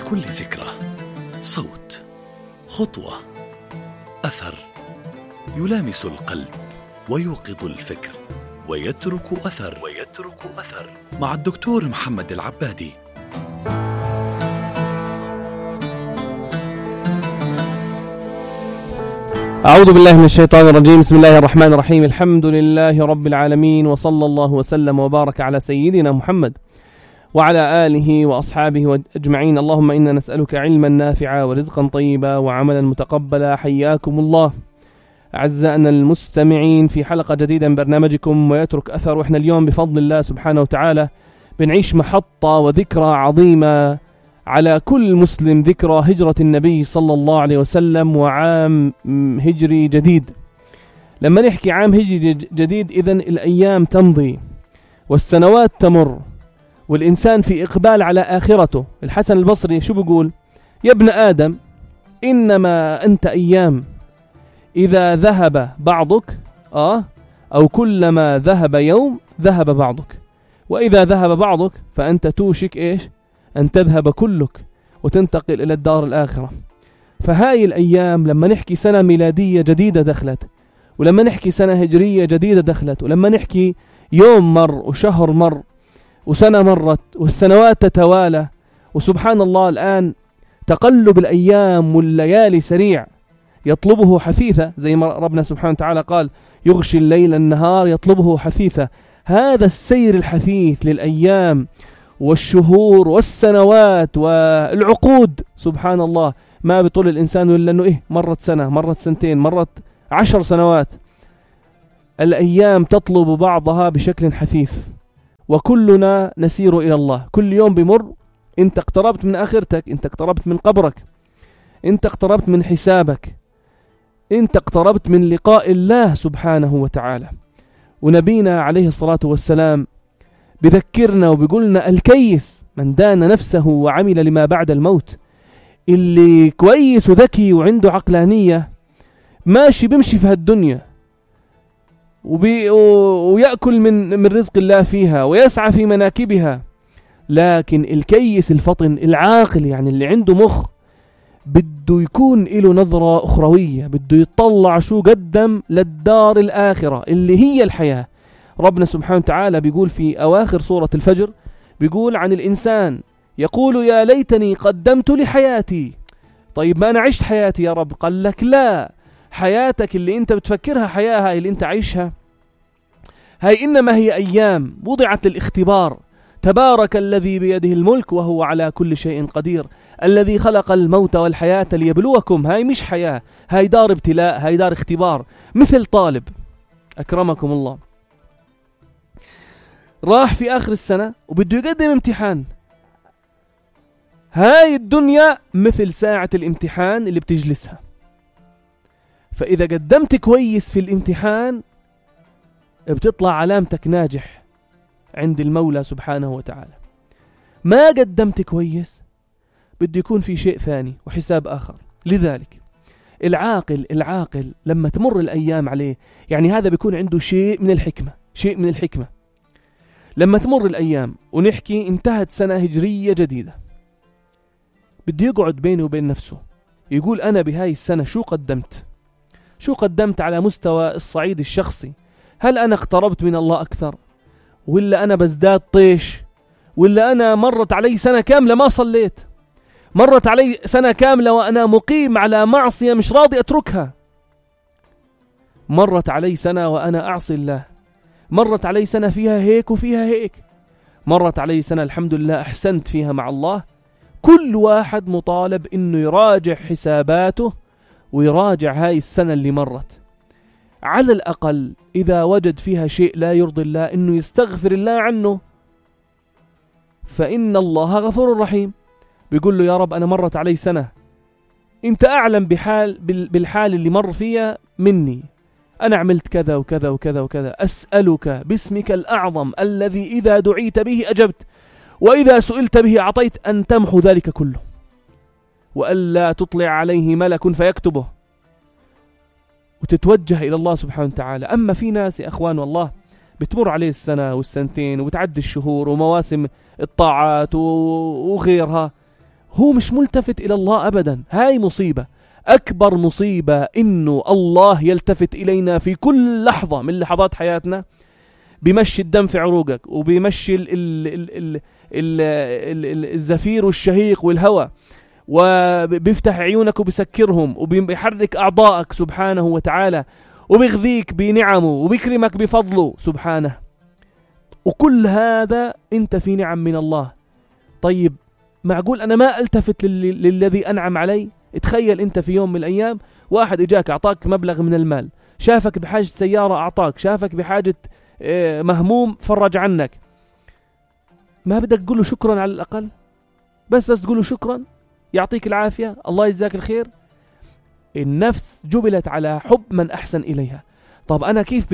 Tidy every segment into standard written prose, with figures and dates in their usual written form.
لكل ذكرى صوت، خطوة، أثر يلامس القلب ويوقظ الفكر ويترك أثر مع الدكتور محمد العبادي. أعوذ بالله من الشيطان الرجيم. بسم الله الرحمن الرحيم. الحمد لله رب العالمين، وصلى الله وسلم وبارك على سيدنا محمد وعلى آله وأصحابه أجمعين. اللهم إنا نسألك علما نافعا ورزقا طيبا وعملا متقبلا. حياكم الله أعزائنا المستمعين في حلقة جديدة من برنامجكم ويترك أثر. وإحنا اليوم بفضل الله سبحانه وتعالى بنعيش محطة وذكرى عظيمة على كل مسلم، ذكرى هجرة النبي صلى الله عليه وسلم وعام هجري جديد. لما نحكي عام هجري جديد إذن الأيام تمضي والسنوات تمر والإنسان في إقبال على آخرته. الحسن البصري شو بيقول؟ يا ابن آدم إنما أنت أيام، إذا ذهب بعضك أو كلما ذهب يوم ذهب بعضك، وإذا ذهب بعضك فأنت توشك إيش؟ أن تذهب كلك وتنتقل إلى الدار الآخرة. فهاي الأيام لما نحكي سنة ميلادية جديدة دخلت، ولما نحكي سنة هجرية جديدة دخلت، ولما نحكي يوم مر وشهر مر وسنة مرت والسنوات تتوالى، وسبحان الله الآن تقلب الأيام والليالي سريع يطلبه حثيثة، زي ما ربنا سبحانه وتعالى قال يغشي الليل النهار يطلبه حثيثة. هذا السير الحثيث للأيام والشهور والسنوات والعقود، سبحان الله ما بيطول الإنسان إلا أنه مرت سنة، مرت سنتين، مرت 10 سنوات. الأيام تطلب بعضها بشكل حثيث وكلنا نسير إلى الله. كل يوم بمر أنت اقتربت من آخرتك، أنت اقتربت من قبرك، أنت اقتربت من حسابك، أنت اقتربت من لقاء الله سبحانه وتعالى. ونبينا عليه الصلاة والسلام بذكرنا وبيقولنا الكيس من دان نفسه وعمل لما بعد الموت. اللي كويس وذكي وعنده عقلانية ماشي بمشي في هالدنيا ويأكل من رزق الله فيها ويسعى في مناكبها، لكن الكيس الفطن العاقل يعني اللي عنده مخ بده يكون له نظرة أخروية، بده يطلع شو قدم للدار الآخرة اللي هي الحياة. ربنا سبحانه وتعالى بيقول في أواخر سورة الفجر، بيقول عن الإنسان يقول يا ليتني قدمت لحياتي. طيب ما أنا عشت حياتي يا رب؟ قال لك لا، حياتك اللي أنت بتفكرها حياة هاي اللي أنت عايشها هاي إنما هي أيام وضعت للاختبار. تبارك الذي بيده الملك وهو على كل شيء قدير، الذي خلق الموت والحياة ليبلوكم. هاي مش حياة، هاي دار ابتلاء، هاي دار اختبار. مثل طالب أكرمكم الله راح في آخر السنة وبده يقدم امتحان. هاي الدنيا مثل ساعة الامتحان اللي بتجلسها، فإذا قدمت كويس في الامتحان بتطلع علامتك ناجح عند المولى سبحانه وتعالى. ما قدمت كويس بده يكون في شيء ثاني وحساب آخر. لذلك العاقل لما تمر الأيام عليه، يعني هذا بيكون عنده شيء من الحكمة. لما تمر الأيام ونحكي انتهت سنة هجرية جديدة، بده يقعد بينه وبين نفسه يقول أنا بهاي السنة شو قدمت على مستوى الصعيد الشخصي. هل أنا اقتربت من الله أكثر، ولا أنا بزداد طيش، ولا أنا مرت علي سنة كاملة ما صليت، مرت علي سنة كاملة وأنا مقيم على معصية مش راضي أتركها، مرت علي سنة وأنا أعصي الله، مرت علي سنة فيها هيك وفيها هيك، مرت علي سنة الحمد لله أحسنت فيها مع الله. كل واحد مطالب إنه يراجع حساباته ويراجع هاي السنة اللي مرت. على الأقل إذا وجد فيها شيء لا يرضي الله إنه يستغفر الله عنه، فإن الله غفور رحيم. بيقول له يا رب أنا مرت علي سنة، أنت أعلم بالحال اللي مر فيها مني، أنا عملت كذا وكذا وكذا وكذا، أسألك باسمك الأعظم الذي إذا دعيت به أجبت وإذا سئلت به أعطيت أن تمحو ذلك كله وألا تطلع عليه ملك فيكتبه، وتتوجه إلى الله سبحانه وتعالى. أما في ناس يا أخوان والله بتمر عليه السنة والسنتين وبتعدي الشهور ومواسم الطاعات وغيرها، هو مش ملتفت إلى الله أبدا. هاي مصيبة، أكبر مصيبة إنه الله يلتفت إلينا في كل لحظة من لحظات حياتنا، بيمشي الدم في عروقك، وبيمشي الزفير والشهيق والهواء، وبيفتح عيونك وبيسكرهم، وبيحرك أعضائك سبحانه وتعالى، وبيغذيك بنعمه وبيكرمك بفضله سبحانه. وكل هذا أنت في نعم من الله. طيب معقول أنا ما ألتفت للذي أنعم علي؟ اتخيل أنت في يوم من الأيام واحد إجاك أعطاك مبلغ من المال، شافك بحاجة سيارة أعطاك، شافك بحاجة مهموم فرج عنك، ما بدك تقول له شكرا على الأقل؟ بس تقول له شكرا، يعطيك العافية، الله يجزاك الخير. النفس جبلت على حب من أحسن إليها. طب أنا كيف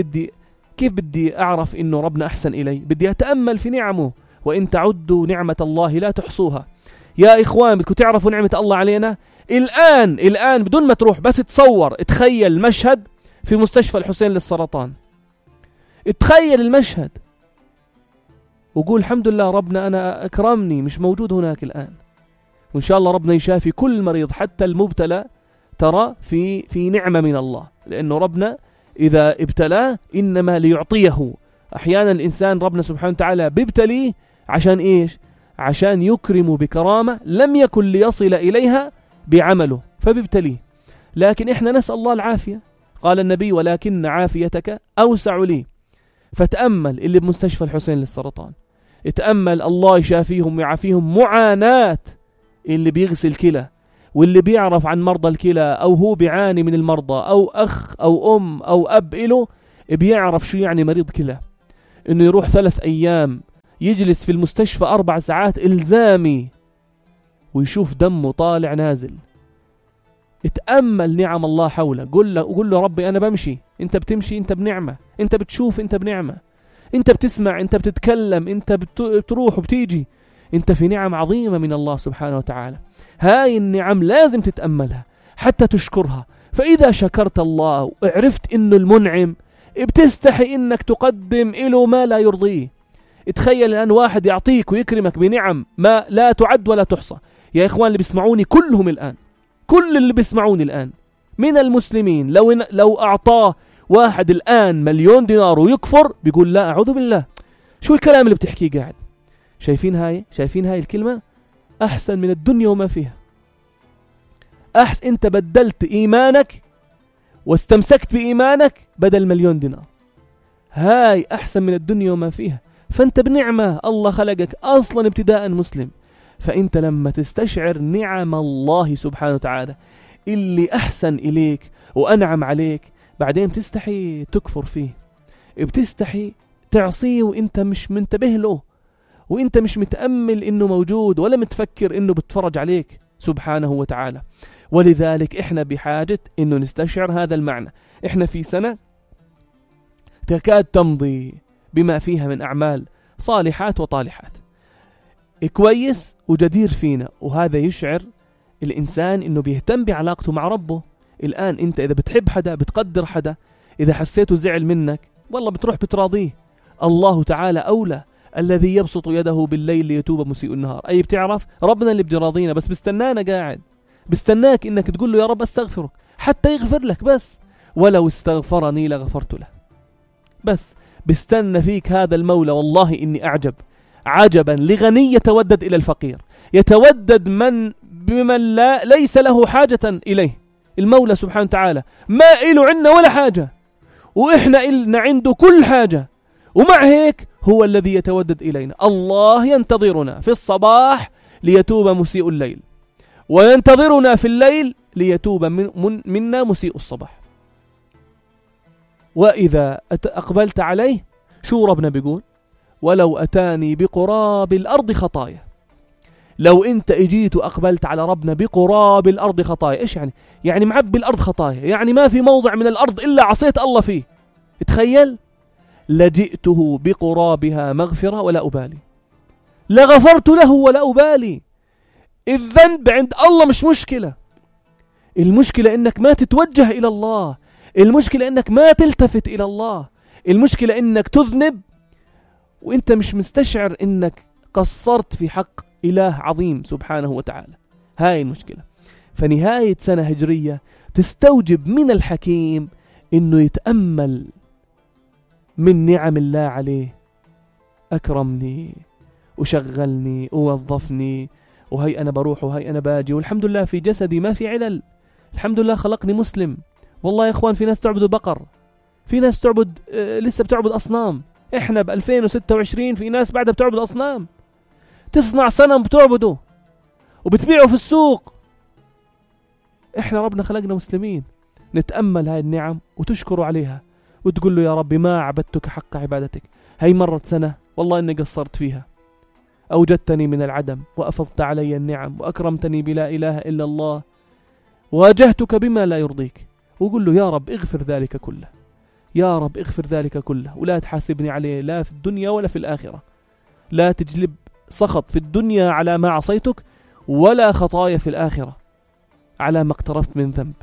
بدي أعرف إنه ربنا أحسن إلي؟ بدي أتأمل في نعمه، وإن تعدوا نعمة الله لا تحصوها. يا إخوان بدكم تعرفوا نعمة الله علينا الآن بدون ما تروح، بس تصور، اتخيل مشهد في مستشفى الحسين للسرطان، اتخيل المشهد وقول الحمد لله ربنا أنا أكرمني مش موجود هناك الآن. وإن شاء الله ربنا يشافي كل مريض حتى المبتلى، ترى في نعمة من الله، لأنه ربنا إذا ابتلاه إنما ليعطيه. أحيانا الإنسان ربنا سبحانه وتعالى بيبتليه عشان إيش؟ عشان يكرمه بكرامة لم يكن ليصل إليها بعمله فبيبتليه. لكن إحنا نسأل الله العافية. قال النبي ولكن عافيتك أوسع لي. فتأمل اللي بمستشفى الحسين للسرطان، اتأمل الله يشافيهم ويعافيهم معاناة اللي بيغسل كلى، واللي بيعرف عن مرضى الكلى أو هو بيعاني من المرضى، أو أخ أو أم أو أب إله بيعرف شو يعني مريض كلى، إنه يروح 3 أيام يجلس في المستشفى 4 ساعات إلزامي ويشوف دمه طالع نازل. اتأمل نعم الله حوله، قل له ربي أنا بمشي، أنت بتمشي، أنت بنعمة، أنت بتشوف، أنت بنعمة، أنت بتسمع، أنت بتتكلم، أنت بتروح وبتيجي، أنت في نعم عظيمة من الله سبحانه وتعالى. هاي النعم لازم تتأملها حتى تشكرها. فإذا شكرت الله وعرفت إنه المنعم، بتستحي إنك تقدم إله ما لا يرضيه. اتخيل الآن واحد يعطيك ويكرمك بنعم ما لا تعد ولا تحصى. يا إخوان اللي بيسمعوني كلهم الآن، كل اللي بيسمعوني الآن من المسلمين، لو أعطاه واحد الآن 1,000,000 دينار ويكفر بيقول لا أعوذ بالله، شو الكلام اللي بتحكيه قاعد؟ شايفين هاي الكلمة أحسن من الدنيا وما فيها. أنت بدلت إيمانك واستمسكت بإيمانك بدل 1,000,000 دينار. هاي أحسن من الدنيا وما فيها. فأنت بنعمة، الله خلقك أصلا ابتداء مسلم. فأنت لما تستشعر نعم الله سبحانه وتعالى اللي أحسن إليك وأنعم عليك، بعدين بتستحي تكفر فيه، بتستحي تعصيه وإنت مش منتبه له، وإنت مش متأمل إنه موجود ولا متفكر إنه بتفرج عليك سبحانه وتعالى. ولذلك إحنا بحاجة إنه نستشعر هذا المعنى. إحنا في سنة تكاد تمضي بما فيها من أعمال صالحات وطالحات، كويس وجدير فينا، وهذا يشعر الإنسان إنه بيهتم بعلاقته مع ربه. الآن أنت إذا بتحب حدا، بتقدر حدا، إذا حسيته زعل منك والله بتروح بتراضيه. الله تعالى أولى، الذي يبسط يده بالليل ليتوب مسيء النهار. أي بتعرف ربنا اللي بيراضينا، بس بستنانا قاعد، بستناك إنك تقول له يا رب أستغفرك حتى يغفر لك، بس ولو استغفرني لغفرت له. بس بستنى فيك هذا المولى. والله إني أعجب عجبا لغني يتودد إلى الفقير، يتودد بمن ليس له حاجة إليه. المولى سبحانه وتعالى ما إله عنا ولا حاجة، وإحنا إلنا عنده كل حاجة، ومع هيك هو الذي يتودد إلينا. الله ينتظرنا في الصباح ليتوب مسيء الليل، وينتظرنا في الليل ليتوب منا مسيء الصباح. وإذا أقبلت عليه، شو ربنا بيقول؟ ولو أتاني بقراب الأرض خطايا. لو أنت اجيت وأقبلت على ربنا بقراب الأرض خطايا، إيش يعني؟ يعني معبي الأرض خطايا، يعني ما في موضع من الأرض إلا عصيت الله فيه. تخيل، لجئته بقرابها مغفرة ولا أبالي، لغفرت له ولا أبالي. الذنب عند الله مش مشكلة، المشكلة إنك ما تتوجه إلى الله، المشكلة إنك ما تلتفت إلى الله، المشكلة إنك تذنب وإنت مش مستشعر إنك قصرت في حق إله عظيم سبحانه وتعالى. هاي المشكلة. فنهاية سنة هجرية تستوجب من الحكيم إنه يتأمل من نعم الله عليه. أكرمني وشغلني ووظفني، وهي أنا بروح وهي أنا باجي، والحمد لله في جسدي ما في علل، الحمد لله خلقني مسلم. والله يا إخوان في ناس تعبد بقر، في ناس تعبد لسه بتعبد أصنام. إحنا ب2026 في ناس بعدها بتعبد أصنام، تصنع صنم بتعبده وبتبيعه في السوق. إحنا ربنا خلقنا مسلمين. نتأمل هاي النعم وتشكروا عليها وتقول له يا ربي ما عبدتك حق عبادتك. هاي مرت سنة والله إني قصرت فيها، أوجدتني من العدم وأفضت علي النعم وأكرمتني بلا إله إلا الله، واجهتك بما لا يرضيك. وقل له يا رب اغفر ذلك كله، يا رب اغفر ذلك كله، ولا تحاسبني عليه لا في الدنيا ولا في الآخرة. لا تجلب سخط في الدنيا على ما عصيتك، ولا خطايا في الآخرة على ما اقترفت من ذنب.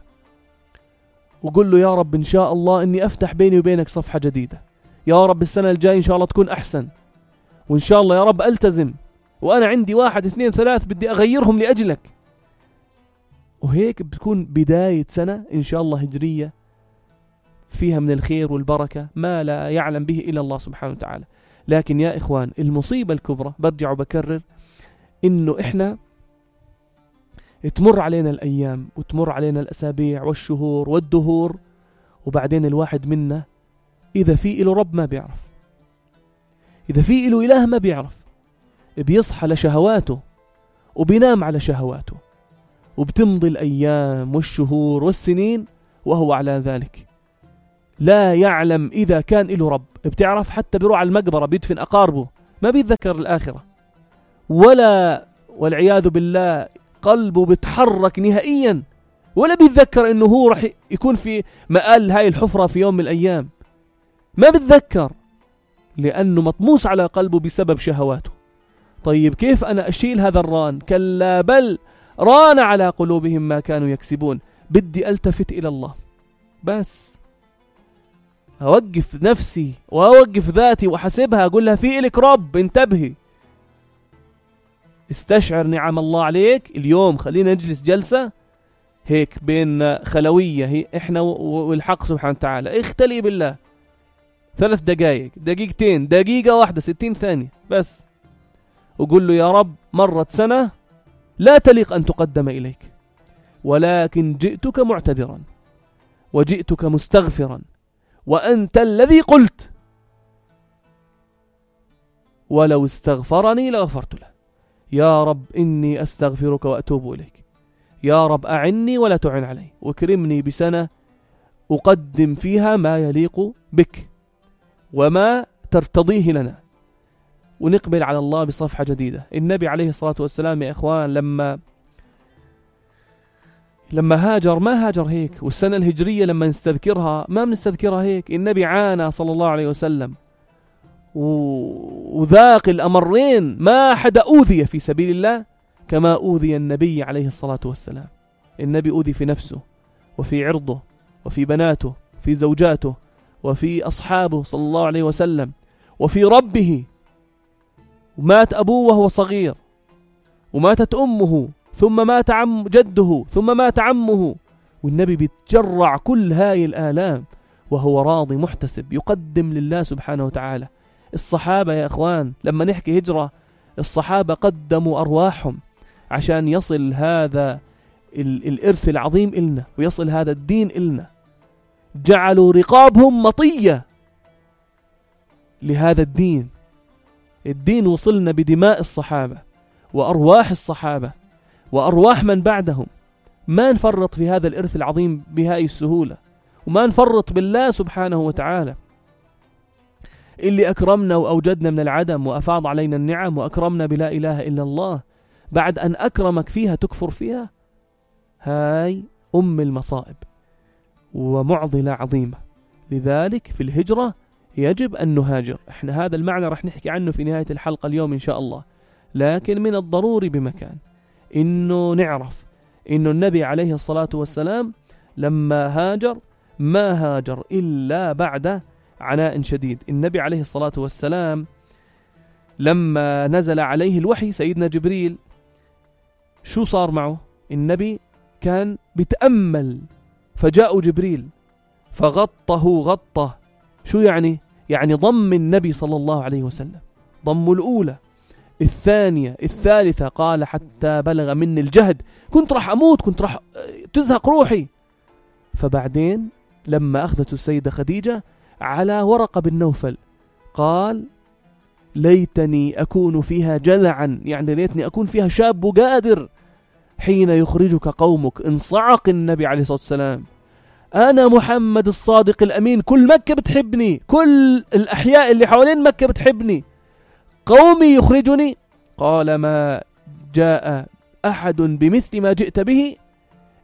وقل له يا رب إن شاء الله إني أفتح بيني وبينك صفحة جديدة، يا رب السنة الجاي إن شاء الله تكون أحسن، وإن شاء الله يا رب ألتزم، وأنا عندي 1 2 3 بدي أغيرهم لأجلك. وهيك بتكون بداية سنة إن شاء الله هجرية فيها من الخير والبركة ما لا يعلم به إلا الله سبحانه وتعالى. لكن يا إخوان المصيبة الكبرى برجع وبكرر إنه إحنا تمر علينا الأيام وتمر علينا الأسابيع والشهور والدهور، وبعدين الواحد منا إذا في إله رب ما بيعرف، إذا في إله إله ما بيعرف، بيصحى لشهواته وبينام على شهواته، وبتمضي الأيام والشهور والسنين وهو على ذلك لا يعلم إذا كان إله رب. بتعرف حتى بيروح على المقبرة بيدفن أقاربه ما بيتذكر الآخرة، ولا والعياذ بالله قلبه بيتحرك نهائيا، ولا بيتذكر إنه هو رح يكون في مآل هاي الحفرة في يوم من الأيام، ما بيتذكر لأنه مطموس على قلبه بسبب شهواته. طيب كيف أنا أشيل هذا الران؟ كلا بل ران على قلوبهم ما كانوا يكسبون. بدي ألتفت إلى الله، بس أوقف نفسي وأوقف ذاتي وأحسبها، أقول لها في إلك رب، انتبهي، استشعر نعم الله عليك اليوم. خلينا نجلس جلسة هيك بين خلوية، هي إحنا والحق سبحانه وتعالى، اختلي بالله 3 دقائق، دقيقتين، دقيقة واحدة، 60 ثانية بس، وقول له يا رب مرت سنة لا تليق أن تقدم إليك، ولكن جئتك معتذرا وجئتك مستغفرا، وأنت الذي قلت ولو استغفرني لغفرت له. يا رب إني أستغفرك وأتوب إليك، يا رب أعني ولا تعن علي، واكرمني بسنة أقدم فيها ما يليق بك وما ترتضيه لنا، ونقبل على الله بصفحة جديدة. النبي عليه الصلاة والسلام يا إخوان لما هاجر ما هاجر هيك، والسنة الهجرية لما نستذكرها ما بنستذكرها هيك. النبي عانى صلى الله عليه وسلم وذاق الأمرين، ما حدا أوذي في سبيل الله كما أوذي النبي عليه الصلاة والسلام. النبي أوذي في نفسه وفي عرضه وفي بناته في زوجاته وفي أصحابه صلى الله عليه وسلم وفي ربه، ومات أبوه وهو صغير، وماتت أمه، ثم مات جده، ثم مات عمه، والنبي بيتجرع كل هاي الآلام وهو راضي محتسب يقدم لله سبحانه وتعالى. الصحابة يا إخوان لما نحكي هجرة، الصحابة قدموا أرواحهم عشان يصل هذا الإرث العظيم إلنا ويصل هذا الدين إلنا، جعلوا رقابهم مطية لهذا الدين. الدين وصلنا بدماء الصحابة وأرواح الصحابة وأرواح من بعدهم. ما نفرط في هذا الإرث العظيم بهاي السهولة، وما نفرط بالله سبحانه وتعالى اللي أكرمنا وأوجدنا من العدم وأفاض علينا النعم وأكرمنا بلا إله إلا الله. بعد أن أكرمك فيها تكفر فيها؟ هاي أم المصائب ومعضلة عظيمة. لذلك في الهجرة يجب أن نهاجر. احنا هذا المعنى رح نحكي عنه في نهاية الحلقة اليوم إن شاء الله، لكن من الضروري بمكان إنه نعرف إنه النبي عليه الصلاة والسلام لما هاجر ما هاجر إلا بعد عناء شديد. النبي عليه الصلاة والسلام لما نزل عليه الوحي سيدنا جبريل شو صار معه؟ النبي كان بيتأمل، فجاء جبريل فغطه غطه. شو يعني؟ يعني ضم النبي صلى الله عليه وسلم، ضم الأولى الثانية الثالثة، قال حتى بلغ مني الجهد، كنت راح أموت، كنت راح تزهق روحي. فبعدين لما أخذت السيدة خديجة على ورقة بن نوفل قال ليتني أكون فيها جذعا، يعني ليتني أكون فيها شاب قادر حين يخرجك قومك. انصعق النبي عليه الصلاة والسلام، أنا محمد الصادق الأمين، كل مكة بتحبني، كل الأحياء اللي حوالين مكة بتحبني، قومي يخرجني. قال ما جاء أحد بمثل ما جئت به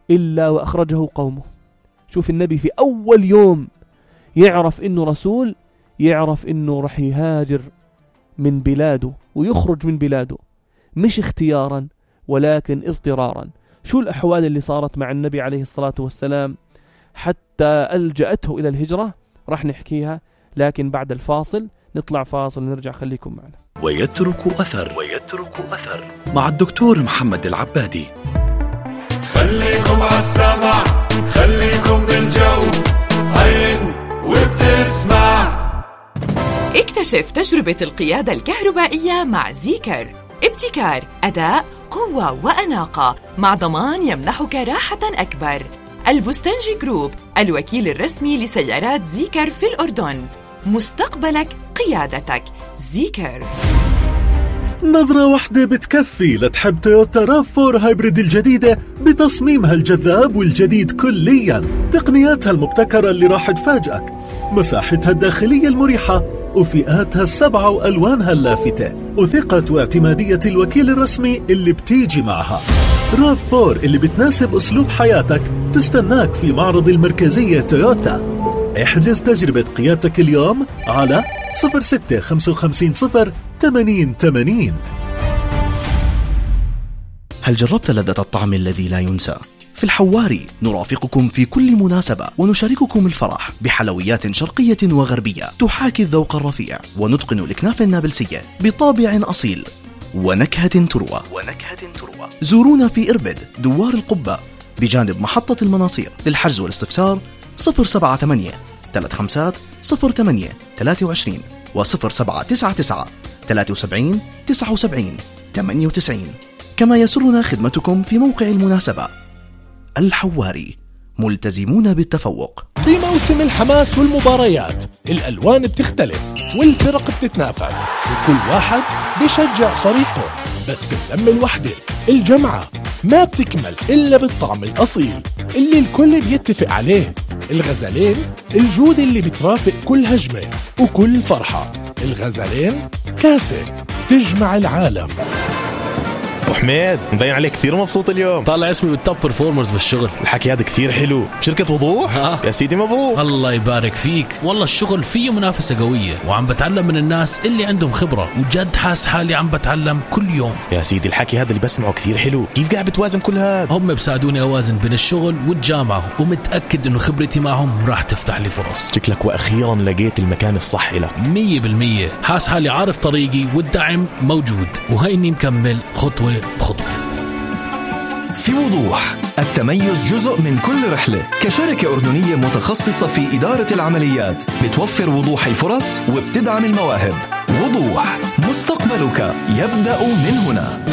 إلا وأخرجه قومه. شوف النبي في أول يوم يعرف إنه رسول، يعرف إنه رح يهاجر من بلاده ويخرج من بلاده، مش اختيارا ولكن اضطرارا. شو الأحوال اللي صارت مع النبي عليه الصلاة والسلام حتى ألجأته إلى الهجرة؟ رح نحكيها، لكن بعد الفاصل. نطلع فاصل ونرجع، خليكم معنا. ويترك أثر مع الدكتور محمد العبادي. خليكم عالسمع، خليكم بالجو، عين وبتسمع. اكتشف تجربة القيادة الكهربائية مع زيكر. ابتكار، أداء، قوة وأناقة، مع ضمان يمنحك راحة أكبر. البستنجي جروب، الوكيل الرسمي لسيارات زيكر في الأردن. مستقبلك قيادتك. زيكر. نظرة واحدة بتكفي لتحب تويوتا RAV4 هايبريد الجديدة بتصميمها الجذاب والجديد كلياً، تقنياتها المبتكرة اللي راح تفاجئك، مساحتها الداخلية المريحة وفئاتها ال7 وألوانها اللافتة، وثقة واعتمادية الوكيل الرسمي اللي بتيجي معها. RAV4 اللي بتناسب أسلوب حياتك تستناك في معرض المركزية تويوتا. احجز تجربة قيادتك اليوم على 0655 هل جربت لذة الطعم الذي لا ينسى؟ في الحواري نرافقكم في كل مناسبة ونشارككم الفرح بحلويات شرقية وغربية تحاكي الذوق الرفيع، ونتقن الإكناف النابلسية بطابع أصيل ونكهة تروى. زورونا في إربد دوار القبة بجانب محطة المناصير. للحجز والاستفسار 078 35 08 23 و 0799 73 79 98. كما يسرنا خدمتكم في موقع المناسبة. الحواري، ملتزمون بالتفوق. بموسم الحماس والمباريات الألوان بتختلف والفرق بتتنافس وكل واحد بيشجع فريقه، بس اللمة الوحدة الجمعة ما بتكمل إلا بالطعم الأصيل اللي الكل بيتفق عليه. الغزلين، الجودة اللي بترافق كل هجمة وكل فرحة. الغزلين كاسة تجمع العالم. وحميد مبين عليك كثير مبسوط اليوم، طالع اسمي بالتوب برفورمرز بالشغل. الحكي هذا كثير حلو بشركة وضوح. يا سيدي مبروك. الله يبارك فيك. والله الشغل فيه منافسة قوية وعم بتعلم من الناس اللي عندهم خبرة، وجد حاس حالي عم بتعلم كل يوم. يا سيدي الحكي هذا اللي بسمعه كثير حلو. كيف قاعد بتوازن كل هذا؟ هم بساعدوني أوازن بين الشغل والجامعة، ومتأكد إنه خبرتي معهم راح تفتح لي فرص. شكلك وأخيرا لقيت المكان الصح لك. 100%. حاس حالي عارف طريقي والدعم موجود، وهيني مكمل خطوة بخطوة. في وضوح، التميز جزء من كل رحلة. كشركة أردنية متخصصة في إدارة العمليات بتوفر وضوح الفرص وبتدعم المواهب. وضوح، مستقبلك يبدأ من هنا.